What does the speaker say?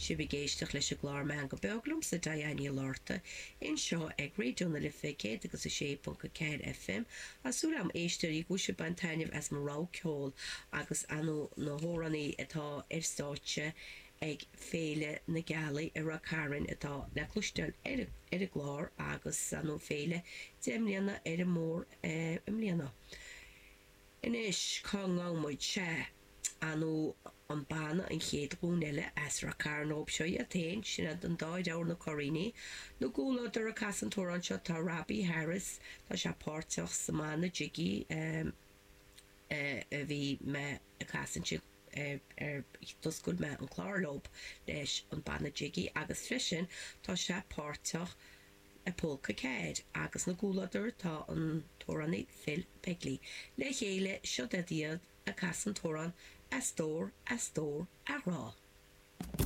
Sibh ag éisteacht leis an gclár Meangadh Beag liomsa, Diane Ní Fhlatharta, anseo ag Raidió na Life 106.4 FM. Tá súil agam, éisteoirí, go bhfuil sibh ag baint taitneamh as mo rogha ceoil agus ar ndóigh na hamhránaí atá ar stáitse ag Féile na Gealaí i Ráth Cairn atá le cloisteáil ar an gclár agus ar ndóigh féile 10 mbliana ar an mbóthar i mbliana. Anois, cá ngabhann muid? Sea, ar ndóigh, an banna An Chéad Ghlúin Eile as Ráth Cairn dhóibh seo iad féin, sin iad an dá dheartháir na Curraoinigh. 'Na gcomhluadar ag casadh an t-amhrán seo tá Robbie Harris, tá sé páirteach sa mbanna Jiggy a bhí mé ag casadh ansin ar d'oscail mé an clár leob leis an banna Jiggy agus freisin tá sé páirteach i Pólca 4 agus 'na gcomhluadar tá an t-amhránaí Phil Begley. Le chéile, siod iad ag casadh an t-amhrán A Stór, A Stór, A Ghrá.